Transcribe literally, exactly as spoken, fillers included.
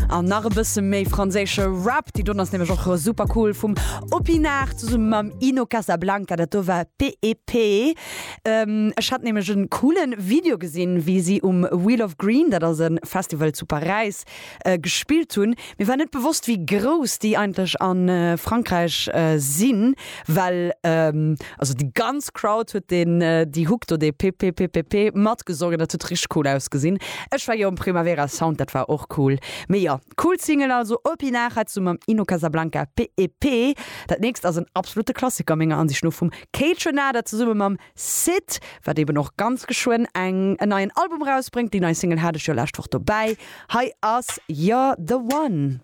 An nach e bësse méi franséische Rap, déi doen ass nämlech och super cool vum Opinard zesumme mam Ino Casablanca, dat do war PEP. Ähm, ech hat nämlech en coolen Video gesinn, wéi si um Wheel of Green, dat ass e Festival zu Paräis, äh, gespillt hunn. Mir war net bewosst, wéi grouss déi eigentlech a äh, Frankräich äh, sinn, well ähm, also déi ganz Crowd huet den äh, déi Hook do de PPPPP matgesongen, dat huet richteg cool ausgesinn. Ech war jo um Primavera Sound, dat war och cool. Mee jo, cool Single also Opinard hat zesumme mam Ino Casablanca PEP. Dat nächst ass en absolute Klassiker menger Ansicht no vum Kaytranada zesumme mam Syd, wat eben och ganz geschwënn eng en neien Album rausbréngt. Déi nei Single hat ech jo lescht Woch dobäi. Hei ass You're the One.